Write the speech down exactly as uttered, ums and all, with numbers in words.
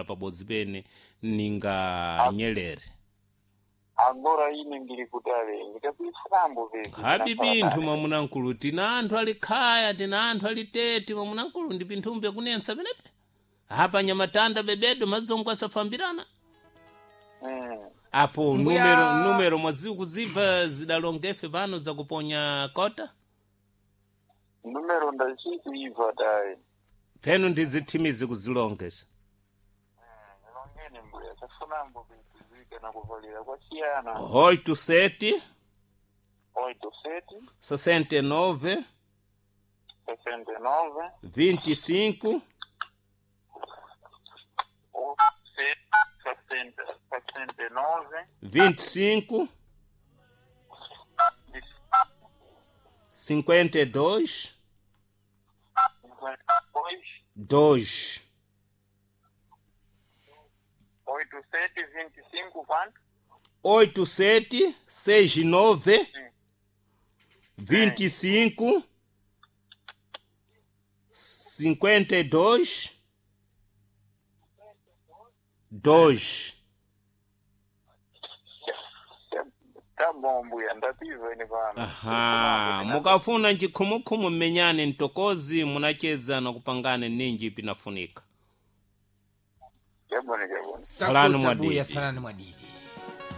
pabodzi pene ninga Nyerere. Agora ine ndili kutali, ndikakuisambo vipi. Nkhapi pinthu, mwamunankulu, tina anthu ali khaya, tina anthu ali tete, mwamunankulu, ndi pinthumbe kunensa penepe apa nyamatanda bebedo mazongo asafambirana. Mm. Apo Mbuya- numero numero mwaziwu kuzibva zidalongefe pano zakuponya kota. Numero ndachikuibva tayi. Penu ndizithimizi kuzilongesa. Longeni mbuya, chafunambo kuitizika na kuvalira kwasiyana. Oito sete Oito sete sessenta e nove sessenta e nove vinte e cinco sete sessenta sessenta e nove vinte e cinco cinquenta e dois cinquenta e dois dois. Oito sete vinte e cinco quanto? Oito sete seis nove vinte e cinco cinquenta e dois dois. Tá bom, mbuya, ndapiva ine pano. Aha, mukafuna nchikhumukhumu mmenyane mtokozi munacheza na kupangane ninji pinafunika. Chabwino, chabwino. Salani Takuta buya, mwadidi. salani mwadidi.